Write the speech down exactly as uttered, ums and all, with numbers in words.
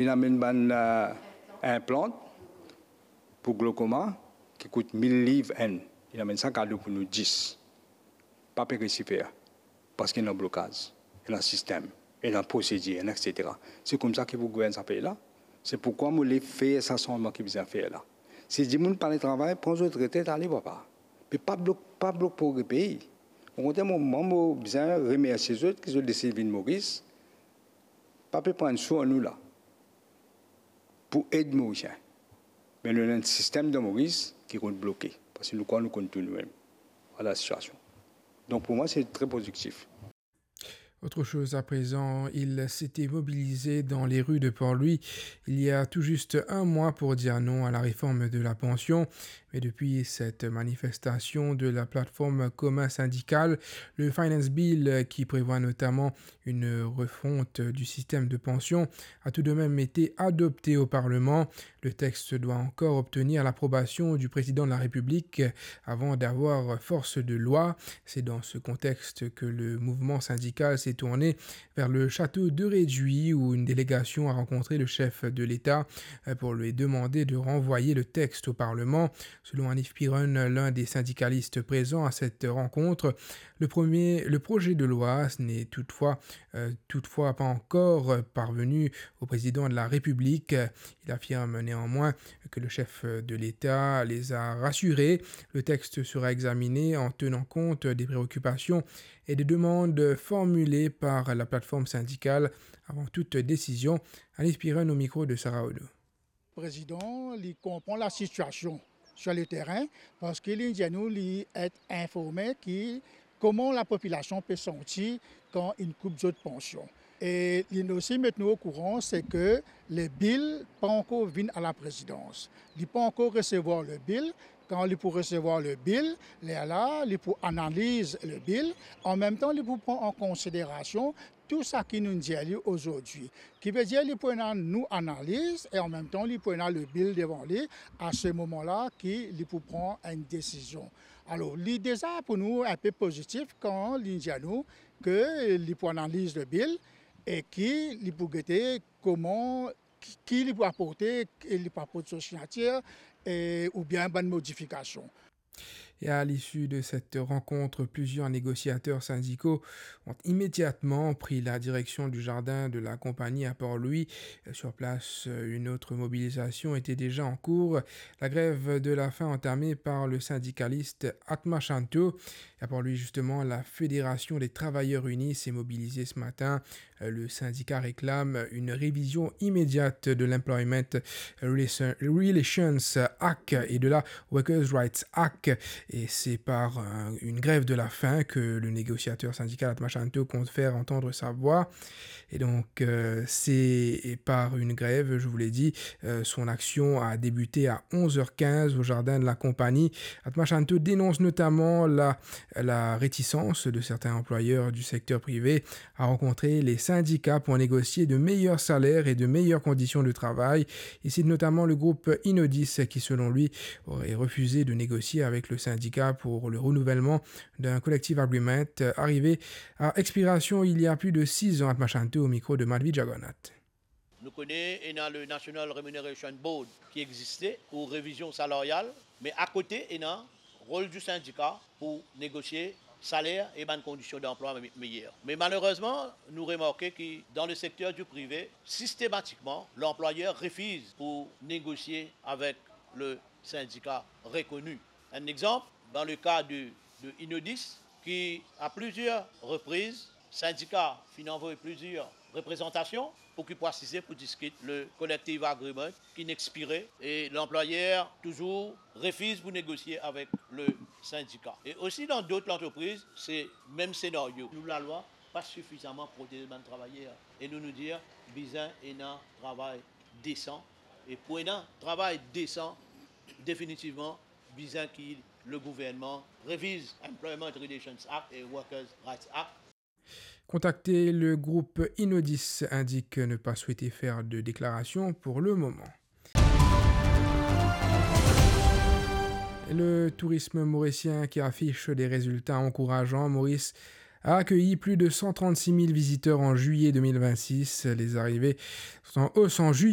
Inn amenn bann, eh, inplant pou glokoma ki kout mil liv enn. Inn amenn sa kado pou nou dis. Pa pe resi fer, parski ena blokaz, ena sistem, ena prosedir, ena et cetera. Se koumsa ki pou gouvern sa pei la. Se poukwa mo le fer sa sanzman ki bizin fer la. Si dimoun pa le travay, pran zot retrete, ale papa. Me pa blok, pa blok progre pei. Okontrer, mo, mwa, mo bizin remersie zot ki zot deside vinn Moris. Pa pe pran sou nou la pou ed Morisien. Me nou ena enn sistem dan Moris ki konn bloke, parski nou krwar nou konn tou noumem. Vwala sitiasion. Donk pou mwa, se tre pozitif. Autre chose à présent, il s'était mobilisé dans les rues de Port-Louis il y a tout juste un mois pour dire non à la réforme de la pension. Mais depuis cette manifestation de la plateforme Commun Syndical, le Finance Bill, qui prévoit notamment une refonte du système de pension, a tout de même été adopté au Parlement. Le texte doit encore obtenir l'approbation du président de la République avant d'avoir force de loi. C'est dans ce contexte que le mouvement syndical s'est tourné vers le château de Réduit, où une délégation a rencontré le chef de l'État, euh, pour lui demander de renvoyer le texte au Parlement. Selon Hanif Piron, l'un des syndicalistes présents à cette rencontre, le premier, le projet de loi n'est toutefois, euh, toutefois pas encore parvenu au président de la République. Il affirme néanmoins que le chef de l'État les a rassurés. Le texte sera examiné en tenant compte des préoccupations et des demandes formulées par la plateforme syndicale avant toute décision. Hanif Piron au micro de Sarah Odo. Président, li konpran la situation sur le terrain, parski li dir nou li et informe ki kouma lapopilasion pe santi kan inn koup zot pansion. E li osi met nou okouran, se ke le bill pa ankor vinn a laprezidans. Li pa ankor resevwar le bill. Kan li pou resevwar le bill, lerla, li pou analiz le bill. An mem tan, li pou pran an konsiderasion tou seki nou dir li azordi. Ki ve dir li pou ena nou analiz e an mem tan, li pou ena le bill devan li, a se moman la ki li pou pran enn desizion. Alor, li deza pou nou inpe pozitif kan li dir nou ke li pou analiz le bill e ki li pou gete kouma, ki, ki li pou aporte, e li pou aport so signatir, e, oubien bann modifikasion. Et à l'issue de cette rencontre, plusieurs négociateurs syndicaux ont immédiatement pris la direction du jardin de la compagnie à Port-Louis. Sur place, une autre mobilisation était déjà en cours. La grève de la faim entamée par le syndicaliste Atma Shanto. Et à Port-Louis, justement, la Fédération des Travailleurs Unis s'est mobilisée ce matin. Le syndicat réclame une révision immédiate de l'Employment Relation-, Relations Act et de la Workers' Rights Act. Et c'est par, euh, une grève de la faim que le négociateur syndical Atma Shanto compte faire entendre sa voix. Et donc, euh, c'est par une grève, je vous l'ai dit, euh, son action a débuté à onze heures quinze au jardin de la compagnie. Atma Shanto dénonce notamment la, la réticence de certains employeurs du secteur privé à rencontrer les syndicats pour négocier de meilleurs salaires et de meilleures conditions de travail. Il cite notamment le groupe Inodis qui, selon lui, aurait refusé de négocier avec le syndicat pour le renouvellement d'un collective agreement, euh, arrivé à expiration il y a plus de six ans. Atma Shanto au micro de Madhvi Jagannath. Nou kone ena le National Remuneration Board ki existe pou revizion salaryal, me akote ena rol di sindika pou negosie saler e bann kondision danplwa me-, meyer. Me malerezman, nou remarke ki dan le sekter di prive, sistematikman, lanplwayer refiz pou negosie avek le sindika rekoni. Enn exanp, dan le ka de, de Inodis, ki a plizier repriz, sindika finn anvoy plizier reprezantasion pou ki pou asize pou diskit le collective agreement ki'nn expire e lanplwayer touzour refiz pou negosie avek le sindika. E osi dan dot lantrepriz, se mem senario. Nou lalwa pa sifizaman protez bann travayer e nou, nou dir bizin ena travay desan. E pou ena travay desan, definitivman, bizin ki le gouvernman reviz Employment Relations Act e Workers' Rights Act. Contacté, le groupe Inodis indique ne pas souhaiter faire de déclaration pour le moment. Le tourisme mauricien qui affiche des résultats encourageants. Maurice a accueilli plus de cent trente-six mille visiteurs en juillet deux mille vingt-six. Les arrivées sont en hausse en juillet.